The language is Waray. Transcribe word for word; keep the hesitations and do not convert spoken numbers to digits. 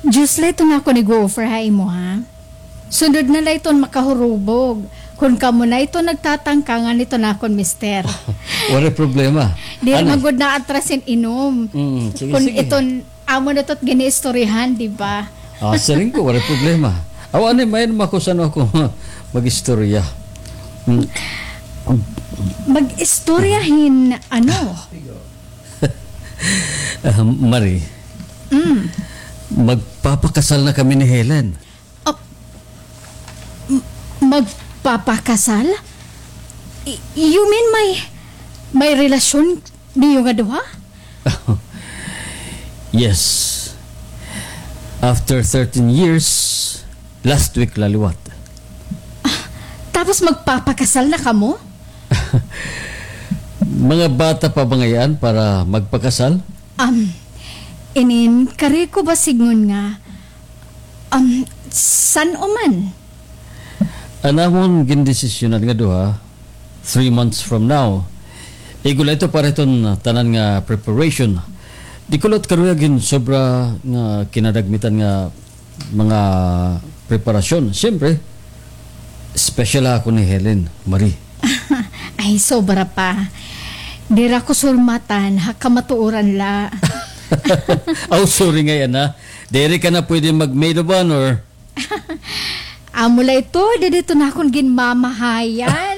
Diyos la iton akon ig-o-offer ha imo, ha? Sunod na la iton makahurubog. Kon kamo na iton nagtatangka ngan iton akon mister. Waray problema. Diri man gud naatras hin inom. Mm, sige, sige. Kon iton amo na iton gin-iistoryahan, di ba? Ah, siring ko, waray problema. Aw, anay, may-ada man ako san-o ako mag-istorya. Mm. Mag-istorya hin ano? Ah, Marie, magpapakasal na kami ni Helen. Ah, m-, magpapakasal? Y-, you mean may, may relasyon niyo nga duha? Yes. After thirteen years, last week la liwat. Tapos magpapakasal na kamo? Mga bata pa ba ngay-an para magpakasal? Um, inin, kari ko ba sidngon nga, um, san-o man? An amon gindesisyonan nga duha, three months from now. Igo la ito para iton, ah, tanan nga preparation. Di ko la karuyag hin sobra nga kinadagmitan nga mga preparasyon. Siyempre, special ako ni Helen, Marie. Ay, sobra pa. Diri ako surmatan, ha kamatuoran la. Aw, sorry ngay-an, ha. Diri ka na pwede mag-maid of honor. Amo la ito, diri ito na akon ginmamahayan.